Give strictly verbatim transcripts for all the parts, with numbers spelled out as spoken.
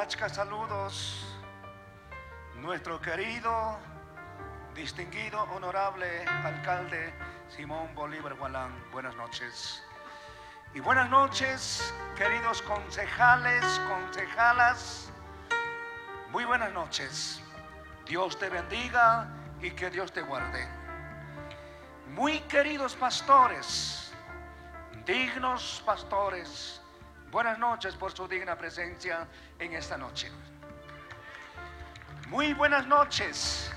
Achka saludos, nuestro querido, distinguido, honorable alcalde Simón Bolívar Gualán. Buenas noches. Y buenas noches, queridos concejales, concejalas. Muy buenas noches. Dios te bendiga y que Dios te guarde. Muy queridos pastores, dignos pastores, buenas noches por su digna presencia en esta noche. Muy buenas noches,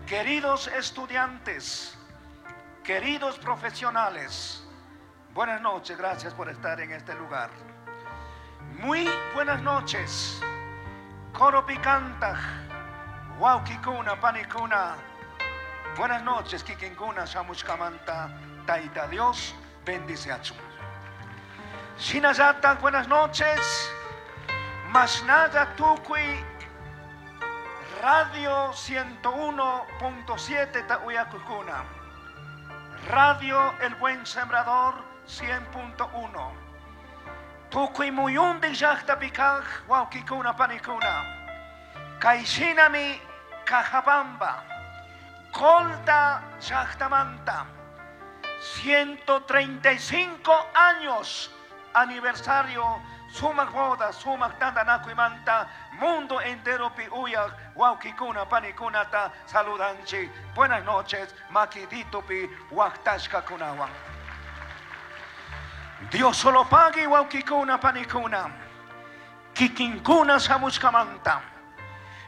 queridos estudiantes, queridos profesionales. Buenas noches, gracias por estar en este lugar. Muy buenas noches, Coropi kantaj, Huauquicuna, Panicuna. Buenas noches, Kikinkuna, Shamushkamanta, Taita Dios, bendice a Shinallataj, buenas noches. Mashnalla Tukui, Radio ciento uno punto siete Ta uyakujkuna. Radio El Buen Sembrador cien punto uno. Tukuy muyundij llajtapi kaj, wawqikuna panikuna. Kayshinami Cajabamba, Colta llajtamanta, ciento treinta y cinco años aniversario sumak boda, sumak tantanakuymanta, mundo entero pi uyak, wawqikuna panikunata saludanchik. Buenas noches, makiditupi waktashkakunawan. Dios solo pague wawqikuna panikuna, kikinkuna shamushkamanta.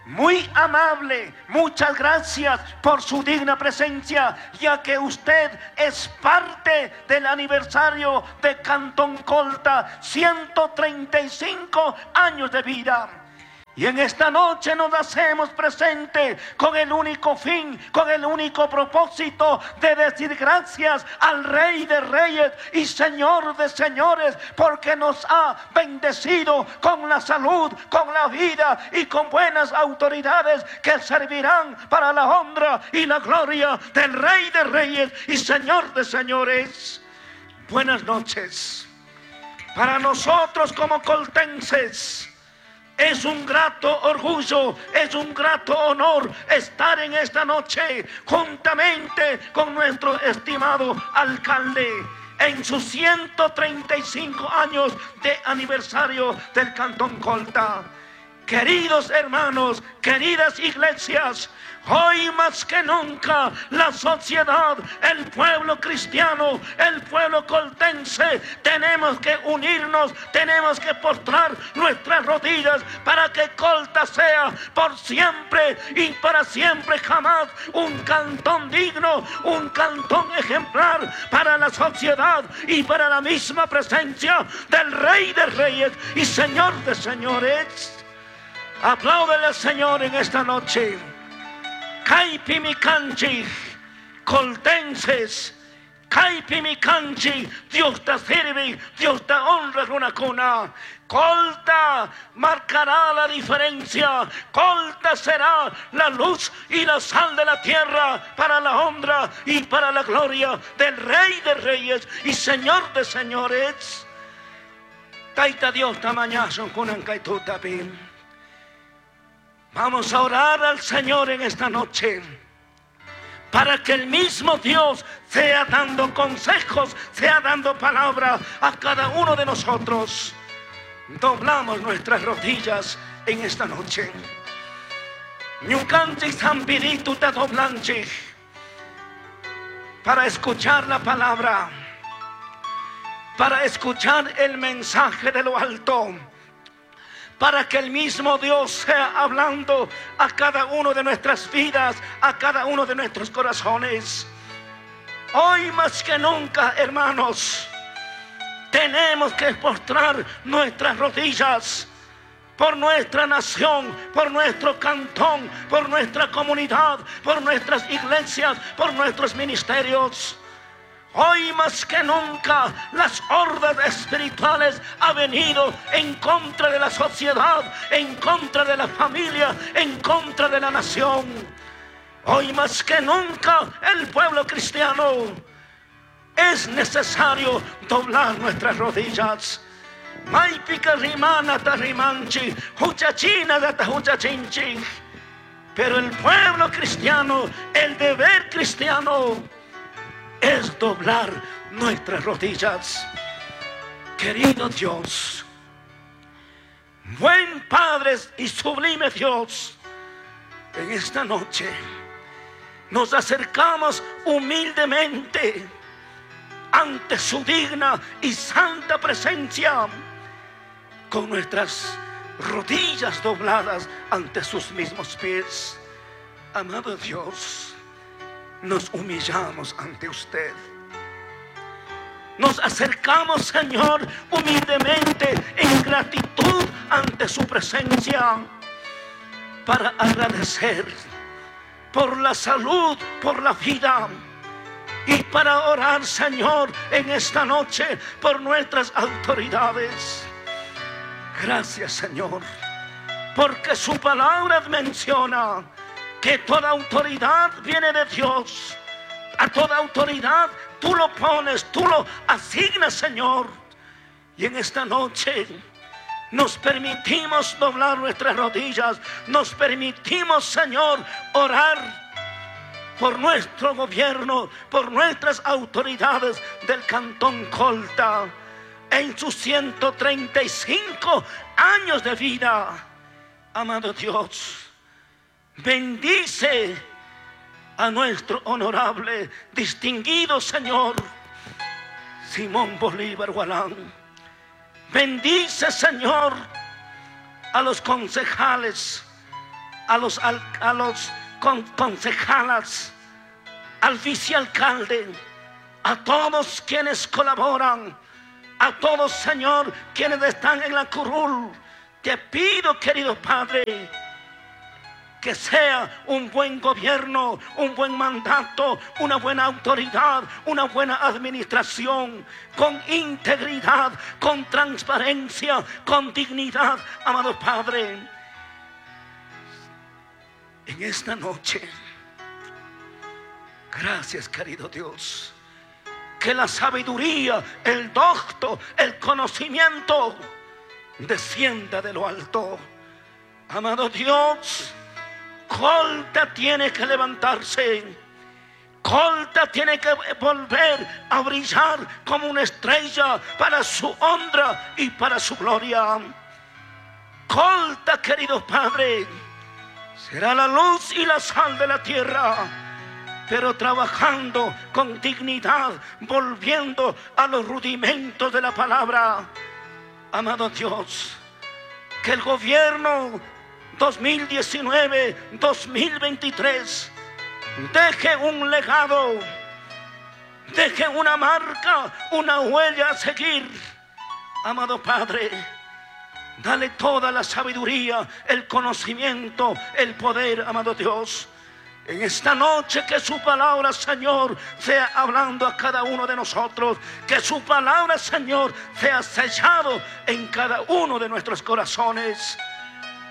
Muy amable, muchas gracias por su digna presencia, ya que usted es parte del aniversario de Cantón Colta, ciento treinta y cinco años de vida. Y en esta noche nos hacemos presente con el único fin, con el único propósito de decir gracias al Rey de Reyes y Señor de Señores, porque nos ha bendecido con la salud, con la vida y con buenas autoridades que servirán para la honra y la gloria del Rey de Reyes y Señor de Señores. Buenas noches. Para nosotros como coltenses es un grato orgullo, es un grato honor estar en esta noche juntamente con nuestro estimado alcalde en sus ciento treinta y cinco años de aniversario del Cantón Colta. Queridos hermanos, queridas iglesias, hoy más que nunca la sociedad, el pueblo cristiano, el pueblo coltense, tenemos que unirnos, tenemos que postrar nuestras rodillas para que Colta sea por siempre y para siempre jamás un cantón digno, un cantón ejemplar para la sociedad y para la misma presencia del Rey de Reyes y Señor de Señores. Apláudele al Señor en esta noche. Kaypi mi kanchik, coltenses, kaypi mi kanchik, Dios te sirve, Dios te honra, runakuna. Colta marcará la diferencia. Colta será la luz y la sal de la tierra para la honra y para la gloria del Rey de Reyes y Señor de Señores. Taita Dios tamañazo kunan kaytutapi. Vamos a orar al Señor en esta noche para que el mismo Dios sea dando consejos, sea dando palabra a cada uno de nosotros. Doblamos nuestras rodillas en esta noche. Ñukanchik San Pirito te doblanchik para escuchar la palabra, para escuchar el mensaje de lo alto, para que el mismo Dios sea hablando a cada uno de nuestras vidas, a cada uno de nuestros corazones. Hoy más que nunca, hermanos, tenemos que postrar nuestras rodillas por nuestra nación, por nuestro cantón, por nuestra comunidad, por nuestras iglesias, por nuestros ministerios. Hoy más que nunca las hordas espirituales han venido en contra de la sociedad, en contra de la familia, en contra de la nación. Hoy más que nunca el pueblo cristiano es necesario doblar nuestras rodillas. Maypika rimanata rimanchik, huchachinata huchachinchik. Pero el pueblo cristiano, el deber cristiano es doblar nuestras rodillas. Querido Dios, buen Padre y sublime Dios, en esta noche nos acercamos humildemente ante su digna y santa presencia, con nuestras rodillas dobladas ante sus mismos pies. Amado Dios, nos humillamos ante usted. Nos acercamos, Señor, humildemente en gratitud ante su presencia, para agradecer por la salud, por la vida, y para orar, Señor, en esta noche por nuestras autoridades. Gracias, Señor, porque su palabra menciona que toda autoridad viene de Dios. A toda autoridad tú lo pones, tú lo asignas, Señor. Y en esta noche nos permitimos doblar nuestras rodillas, nos permitimos, Señor, orar por nuestro gobierno, por nuestras autoridades del Cantón Colta, en sus ciento treinta y cinco años de vida. Amado Dios, bendice a nuestro honorable, distinguido Señor Simón Bolívar Gualán. Bendice, Señor, a los concejales, a los, a los con, concejalas, al vicealcalde, a todos quienes colaboran, a todos, Señor, quienes están en la curul. Te pido, querido Padre, que sea un buen gobierno, un buen mandato, una buena autoridad, una buena administración, con integridad, con transparencia, con dignidad, amado Padre. En esta noche, gracias, querido Dios, que la sabiduría, el docto, el conocimiento descienda de lo alto. Amado Dios, Colta tiene que levantarse. Colta tiene que volver a brillar como una estrella para su honra y para su gloria. Colta, querido Padre, será la luz y la sal de la tierra, pero trabajando con dignidad, volviendo a los rudimentos de la palabra. Amado Dios, que el gobierno dos mil diecinueve dos mil veintitrés deje un legado, deje una marca, una huella a seguir. Amado Padre, dale toda la sabiduría, el conocimiento, el poder, amado Dios. En esta noche que su palabra, Señor, sea hablando a cada uno de nosotros. Que su palabra, Señor, sea sellado en cada uno de nuestros corazones.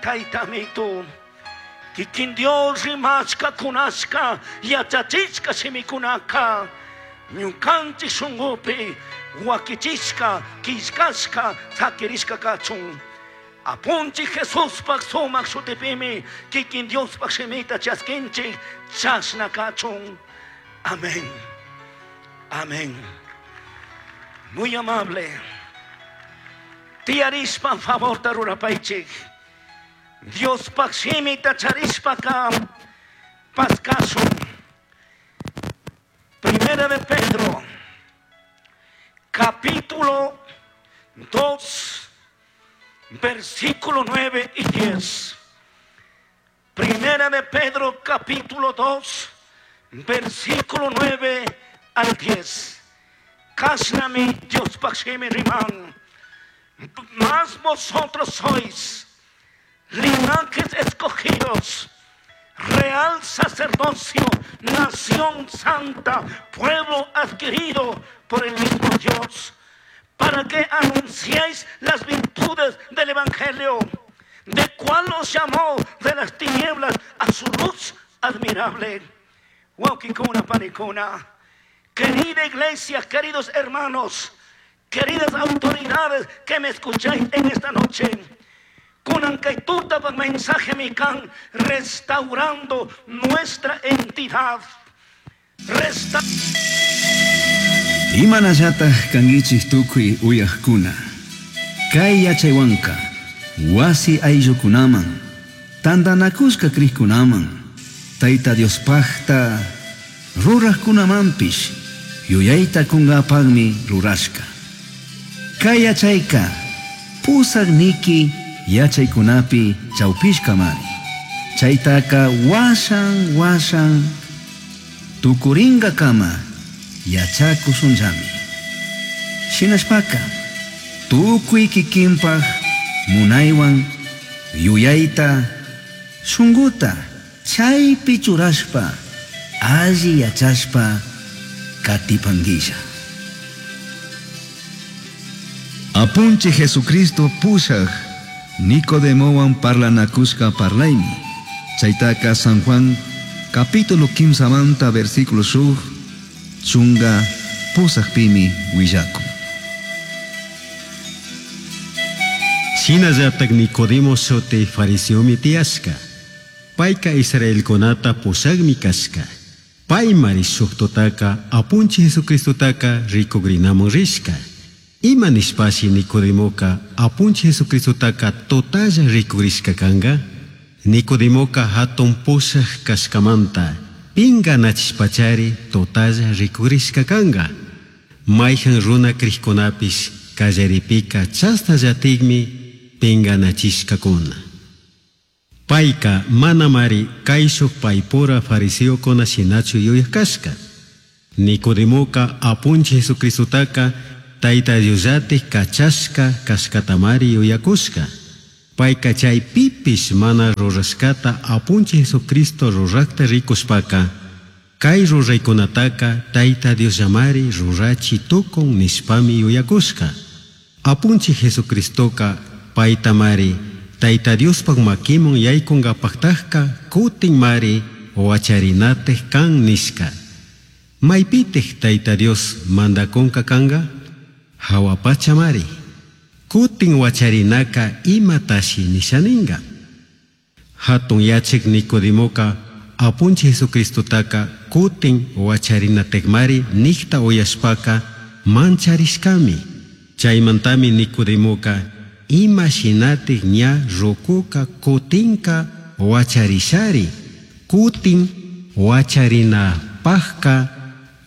Taitamito, kikin Dios rimashka kunashka, yachachishka shimikunaka, ñukanchik shungupi, wakichishka, kishkashka, sakirishka kachun. Apunchik Jesuspaq sumaq shutipimi, kikin Diospaq shimita chaskinchik, chashna kachun. Amén. Amén. Muy amable. Tiyarishpa favor tarurapaychik. Diospaq shimita charishpaka paskasun. Primera de Pedro, capítulo dos, versículo nueve y diez. Primera de Pedro, capítulo dos, versículo nueve al diez. Kasnami Diospaq shimi riman. Mas vosotros sois linajes escogidos, real sacerdocio, nación santa, pueblo adquirido por el mismo Dios, para que anunciéis las virtudes del Evangelio, de cual os llamó de las tinieblas a su luz admirable. Huauquicuna, panicuna. Querida iglesia, queridos hermanos, Queridas autoridades que me escucháis en esta noche, kunan kay tutapaj mensaje kan restaurando nuestra entidad. Resta Imanallataj kankichik tukuy uyajkuna. Kay yachaywanka wasi ayllukunaman, tantanakushka crijkunaman, Tayta Diospajta rurajkunamanpish yuyayta kungapakmi rurashka. Kay yachayka pusaq niki yachaykunapi chawpishkamari. Chaytaka washan washan tukuringakama yachakushunllami. Shinashpaka tukuy kikinpaj munaywan yuyayta shunguta chaypi churashpa alli yachashpa katipanguilla. Apunchij Jesucristo pushaj Nicodemowan parlanakushka parlaymi. Chaytaka San Juan capítulo kimsamanta versículo shuk chunga pusajpimi willakun. Shinallatak Nicodemo shuti fariseomi tiyashka. Payka Israelkunata pushakmi kashka. Paymari shuk tutaka Apunchik Jesucristotaka rikugrinamun rishka. Ima nishpashi Nicodemoka Apunchik Jesucristotaka totalla rikugrishka kanka? Nicodemoka hatun pushak kashkamanta pinganachishpachari totalla rikugrishka kanka. Mayhan runa krikkunapish kallaripika chasnallatikmi pinganachishkakuna. Payka manamari kayshuk paypura fariseokuna shinachu yuyak kashka. Nicodemoka Apunchik Jesucristotaka Tayta Diosllatik kachashka kashkatamari yuyakushka. Payka chay pipish mana rurashkata Apunchik Jesucristo rurakta rikushpaka kay ruraykunataka Tayta Diosllamari rurachi tukun nishpami yuyakushka. Apunchik Jesucristoka paytamari Tayta Diospaj makiman yaykunkapaktajka kutinmari wacharinatik kan nishka. Maypitik Tayta Dios mandakunka kanka? Hawa pachamari. Kutin wacharinaka imatashi nishaninka. Hatun yachik Nicodemoka Apunchik Jesucristotaka kutin wacharinatikmari nikta uyashpaka mancharishkami. Chaymantami Nicodemoka ima shinatik ña rukuka kutinka wacharishari. Kutin wacharinapajka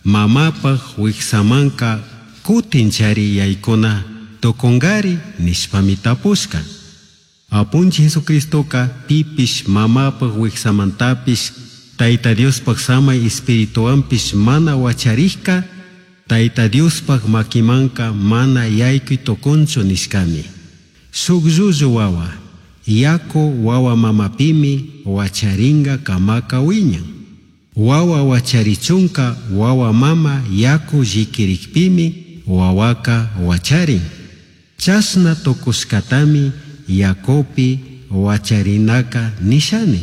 mamapaj wiksamanka kutinchari yaykuna tukunkari nishpami tapushka. Apunchik Jesucristoka pipish mamapaj wiksamantapish Tayta Diospaj samay espirituwanpish mana wacharishka Tayta Diospaj makimanka mana yaykuy tukunchu nishkami. Shuk llullu wawa yaku wawa mamapimi wacharinga kamaka wiñan. Wawa wacharichunka wawa mama yaku llikirikpimi wawaka wacharin. Chashna tukushkatami yakupi wacharinaka nishani.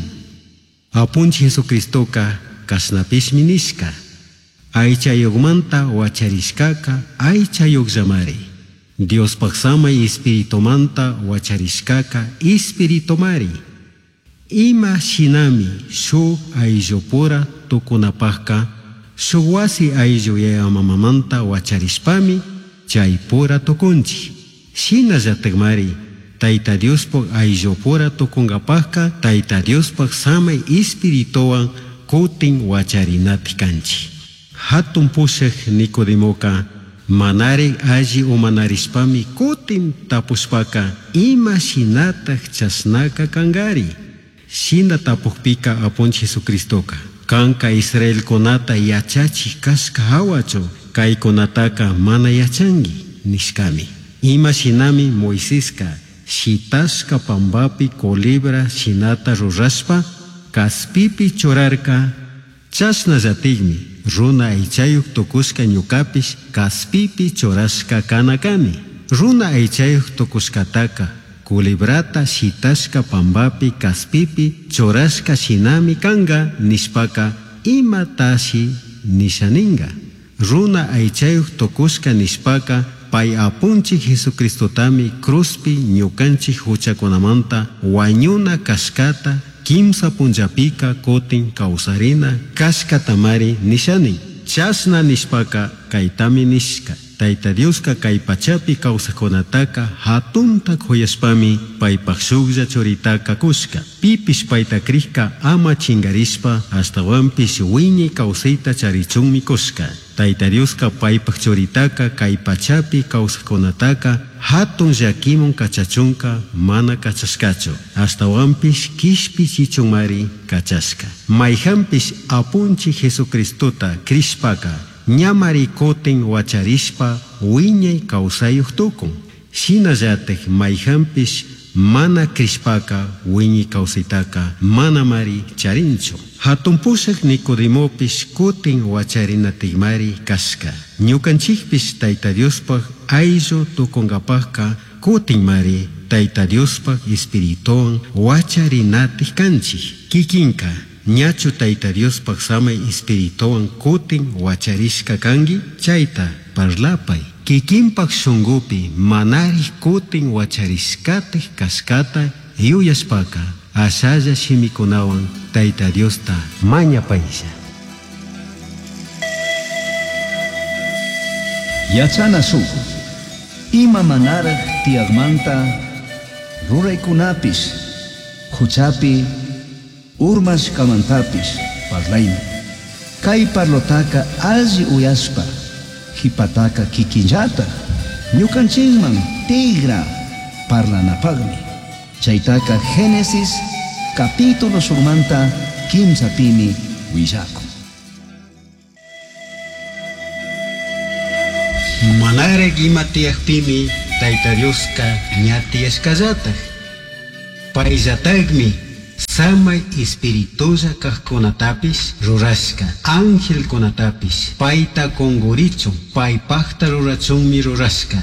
Apunchik Jesucristoka kashnapishmi nishka. Aychayuqmanta wacharishkaka aychayuqllamari. Diospaj samay espiritumanta wacharishkaka espiritumari. Ima shinami shuk ayllupura tukunapajka shuk wasi ayllu yaya mamamanta wacharishpami chaypura tukunchik. Shinallatakmari Tayta Diospaj ayllupura tukunkapajka Tayta Diospaj samay espirituwan kutin wacharinatik kanchik. Hatun pushak Nicodemoka manari alli umanarishpami kutin tapushpaka ima shinatak chashnaka kankari. Shina tapukpika Apunchik Jesucristoka kanka Israelkunata yachachik kashka hawachu kaykunataka mana yachanki nishkami. Ima shinami Moiseska shitashka pambapi culebra shinata rurashpa kaspipi churarka chashnallatikmi runa aychayuq tukushka ñukapish kaspipi churashka kana kani. Runa aychayuq tukushkataka culebrata shitashka pambapi kaspipi churashka shinami kanka nishpaka imatashi nishaninka. Runa aychayuq tukushka nishpaka Pai Apunchij Jesucristotami cruzpi ñucanchij huchacunamanta huañuna cashcata quimsa punllapika cutin causarina cashcatamari nishani. Chashna nishpaca caitami nishca. Taita Diosca cai pachapi causajcunataca jatunta c'uyashpami paipaj shujlla churitaca cushca. Pipish paita crijca ama chingarishpa ashtahuanpish huiñai causaita charichunmi cushca. Taita Diosca paipaj churitaca cai pachapi causajcunataca jatun llaquiman cachachunca mana cachashcachu. Ashtahuanpish quishpichichunmari cachashca. Maijanpish Apunchij Jesucristota crishpaca ñamari cutin huacharishpa huiñai causayuj tucun. Shinallataj maijanpish mana crishpaca huiñai causaitaca manamari charinchu. Jatun pushaj Nicodemopish cutin huacharinatajmari cashca. Ñucanchijpish Taita Diospaj aillu tucungapajca cutinmari Taita Diospaj Espirituhuan huacharinataj canchij. Kikinka ñachu Taita Diospaj samai Espirituhuan cutin huacharishca cangui? Chaita parlapai. Kikinpaj shungupi manarij cutin huacharishcataj cashcata yuyashpaca ashalla shimikunawan Taita Diosta mañapailla. Yachana shuk ima manaraj tiyajmanta ruraykunapish huchapi urmashkamantapish parlaymi. Kay parlotaka alli uyashpa jipataka kikinllataj ñukanchikman tigra parlanapaqmi. Chaytaka Génesis capítulo shukmanta kimsapimi willakun. Manaraj ima tiyajpimi Taita Dioska ña tiyashkallataj. Payllatajmi samay espiritulla kajkunatapish rurashka, angelkunatapish payta kungurichun, paypajta rurachunmi rurashka.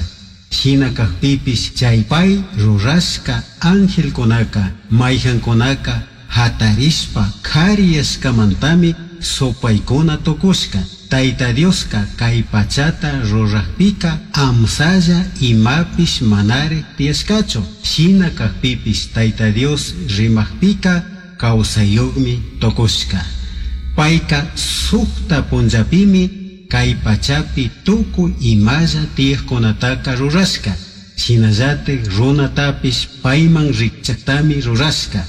Shina kajpipish chay pay rurashka angelkunaka mayjankunaka hatarishpa kariyashkamantami supaykuna tukushka. Taita Dioska kay pachata rurajpika amsalla imapish manarij tiyashkachu. Shina kajpipish Taita Dios rimajpika kawsayuqmi tukushka. Payka sukta punllapimi kay pachapi tukuy imalla tiyajkunataka rurashka. Shinallataj runatapish payman rikchaktami rurashka.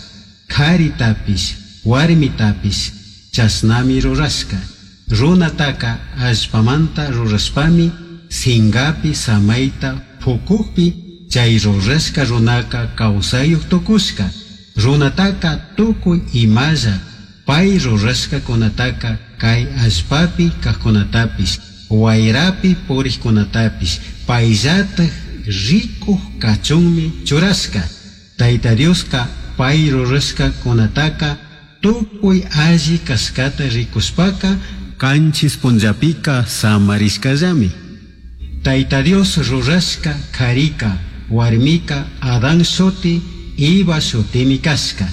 Karitapish warmitapish chashnami rurashka. Runataka allpamanta rurashpami singapi samayta pukukpi chay rurashka runaka kawsayuq tukushka. Runataka tukuy imalla pay rurashkakunataka kay allpapi kajkunatapish wayrapi puriqkunatapish payllataj rikuq kachunmi churashka. Taita Dioska pay rurashkakunataka tukuy alli kashkata rikushpaka kanchis punllapika samarishkallami. Taita Dios rurashka karika warmika Adán shuti Eva shutimi kashka.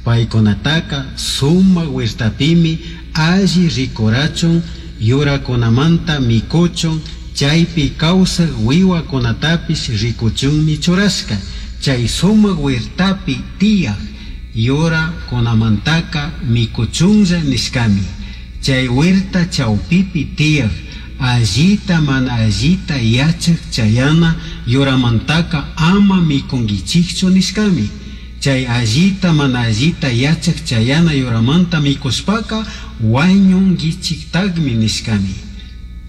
Paykunataka sumak huertapimi alli rikurachun yurakunamanta mikuchun chaypi kawsaq wiwakunatapish rikuchunmi churashka. Chay sumak huertapi tiyaq yurakunamantaka mikuchunlla nishkami. Chay huerta chawpipi tiyaq allita mana allita yachaq chayana yuramantaka ama mikunkichikchu nishkami. Chay allita mana allita yachaq chayana yuramanta mikushpaka wañunkichiktaqmi nishkami.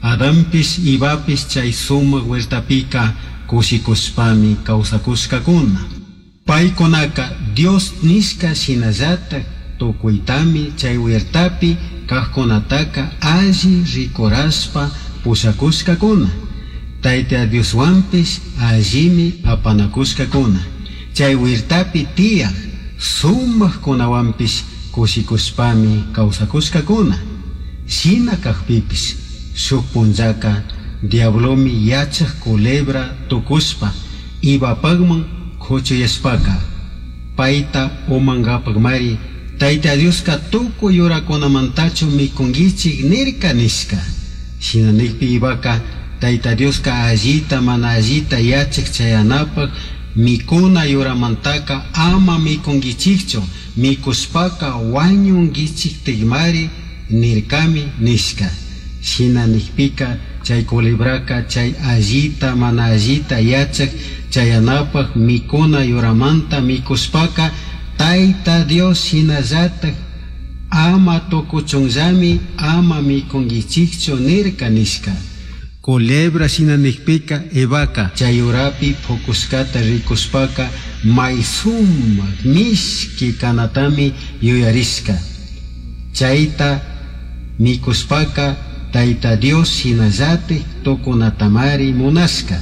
Adanpish Evapish chay sumak huertapika kushikushpami kawsakushkakuna. Paykunaka Dios nishka shinallataj tukuytami chay huertapi kajkunataka alli rikurashpa pushakushkakuna. Tayta Dioswanpish allimi apanakushkakuna. Chay huertapi tiyaq sumakkunawanpish kushikushpami kawsakushkakuna. Shina kajpipish shuk punllaka diablomi yachaq culebra tukushpa Evapaqman kuchuyashpaka payta umankapaqmari Taita Dioska tukuy yurakunamantachu mikunkichik nirka nishka. Shina nikpi Evaka Tayta Dioska allita mana allita yachak chayanapaq mikuna yuramantaka ama mikunkichikchu, mikushpaka wañunkichiktikmari nirkami nishka. Shina nikpika chay culebraka chay allita mana allita yachak chayanapaq mikuna yuramanta mikushpaka Tayta Dios shinallatak ama tukuchunllami ama mikunkichikchu nirka nishka. Culebra shina nikpika Evaka chay yurapi pukushkata rikushpaka may sumak mishki kanatami yuyarishka. Chayta mikushpaka Tayta Dios shinallatik tukunatamari munashka.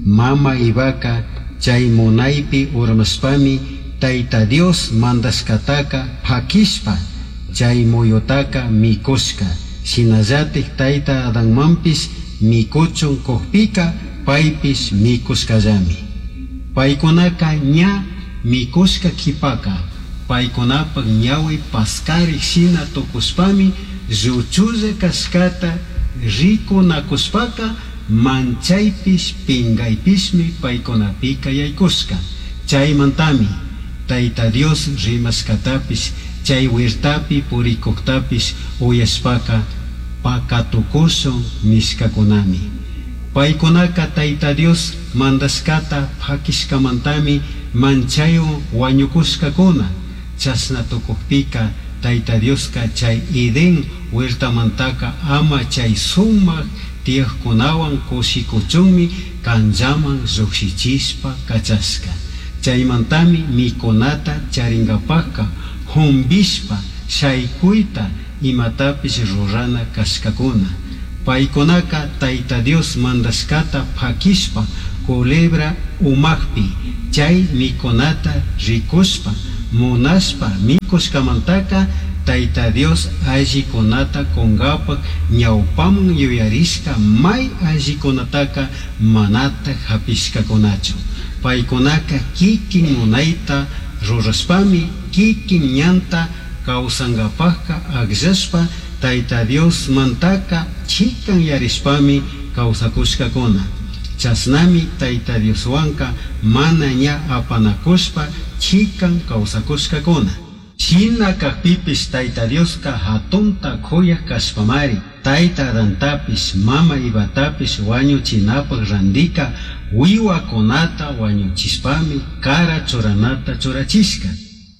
Mama Evaka chay munaypi urmashpami Tayta Dios mandashkataka pakishpa chay muyutaka mikushka. Shinallatik Tayta Adanmanpish mikuchun kukpika paypish mikushkallami. Paykunaka ña mikushka kipaka paykunapak ñawi paskarik shina tukushpami lluchulla kashkata rikunakushpaka manchaypish pingaypishmi paykunapika yaykushka. Chaymantami Tayta Dios rimashkatapish chay huertapi purikuktapish uyashpaka pakatukushun nishkakunami. Paykunaka Tayta Dios mandashkata pakishkamantami manchaywan wañukushkakuna. Chashna tukukpika Tayta Dioska chay Edén huertamantaka ama chay sumak tiyakkunawan kushikuchunmi kanllaman llukshichishpa kachashka. Chaymantami mikunata charinkapakka jumbishpa shaykuyta imatapish rurana kashkakuna. Paykunaka Tayta Dios mandashkata pakishpa culebra umakpi chay mikunata rikushpa munashpa mikushkamantaka Tayta Dios allikunata kunkapak ñawpaman yuyarishka may allikunataka manata hapishkakunachu. Paykunaka kikin munayta rurashpami kikin ñanta kawsankapakka akllashpa Tayta Dios mantaka chikan yarishpami kawsakushkakuna. Chashnami Tayta Dioswanka mana ña apanakushpa chikan kawsakushkakuna. Shina kakpipish Tayta Dioska hatunta kuyak kashpamari Tayta Adantapish mama Evatapish wañuchinapak randika wiwakunata wañuchishpami kara churanata churachishka.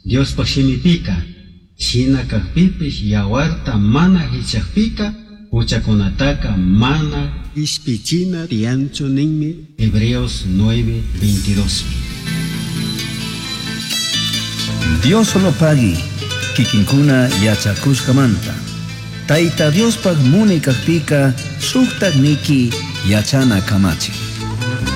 Diospak shimipika shina kakpipish yawarta mana hichakpika huchakunataka mana ishpichina tiyanchu ninmi. Hebreos nueve veintidós. Dios solo pagui, kikinkuna yachakushkamanta. Tayta Diospaj muni kakpika shuktak niki yachana kamachi.